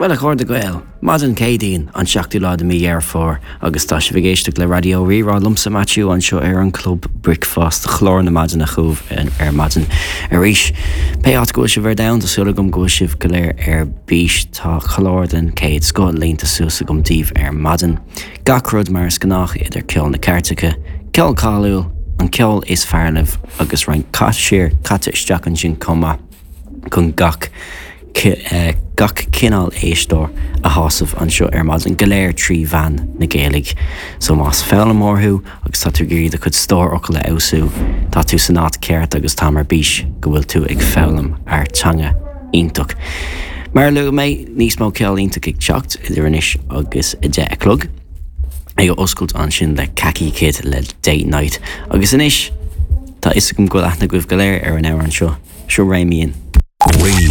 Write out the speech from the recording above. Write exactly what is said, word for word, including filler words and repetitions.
Bhuel a chairde Gael, maidin Céadaoin an seachtú lá de mí Dheireadh Fómhair agus tá sibh ag éisteacht le Raidió Rí-Rá liomsa Maitiú anseo ar an Club Bricfeasta chlár na maidine chugaibh ar maidin arís. Pé áit go bhfuil sibh ar domhan tá súil agam go bhfuil sibh go léir ar bís tá clár den chéad scoth líonta suas agam daoibh ar maidin. Gach rud mar is gnách idir ceol na cairteacha, ceol cáiliúil, an ceol is fearr libh agus roinnt caisiir caite isteach ansin chomh maith chun gach Eh, gach cineál éisteoir a shásamh anseo ar maidin go léir trí mheán na Gaeilge. So más foghlaimeoir thú agus tá tú ag iarraidh do chuid stór focal a fheabhsú, tá tú san áit ceart agus táim ar bís go bhfuil tú ag foghlaim ár teanga iontach. Mar a luaigh mé níos mó ceol iontach ag teacht idir anois agus a deich a chlog. Ag oscailt ansin le Kaki Kid le Date Night agus anois tá fhios agam go bhfuil aithne agaibh go léir ar an amhrán seo, seo Réimíonn. Rí